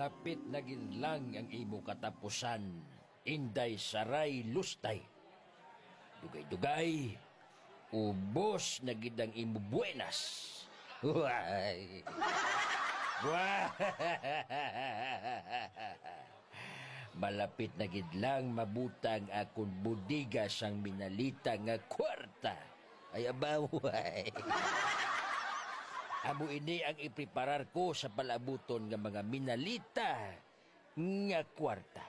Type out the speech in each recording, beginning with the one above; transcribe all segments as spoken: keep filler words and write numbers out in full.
Lapit na gid lang ang imo katapusan, Inday Saray Lustay. Dugay-dugay, ubos na gid ang imo buenas. Way. Way. Malapit na gid lang mabutang akon bodega sang minalita nga kwarta. Ay, abaway. Amo ini ang ipreparar ko sa palabuton nga mga minalita nga kwarta.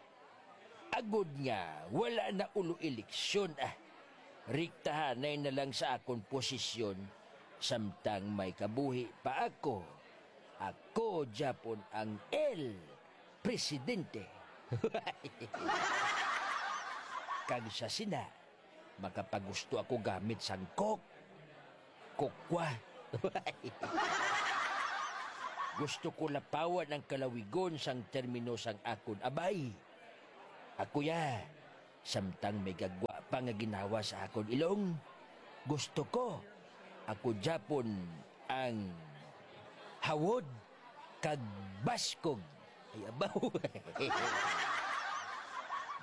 Agod nga wala na ulo eleksyon, ah, riktahanay na lang sa akon posisyon, samtang may kabuhi pa ako. Ako gyapon ang El Presidente. Kag sa sina, makapagusto ako gamit sang Coke, kokwa. Gusto ko lapawan ang kalawigon sang termino sang akon abay. Ako ya, samtang may gagwa pa nga ginawa sa akon ilong, gusto ko, ako gyapon ang hawod kag baskog. Ay, abaw.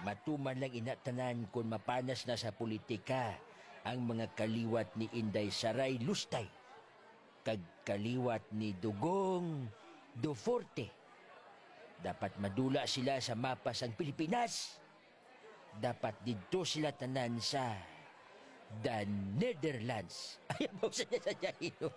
Matuman lang ina tanan kon mapanas na sa politika ang mga kaliwat ni Inday Saray Lustay kag kaliwat ni Dugong Duforte. Dapat madula sila sa mapa sang Pilipinas. Dapat didto sila tanan sa the Netherlands. Ay, abaw sa niya sa Jaino.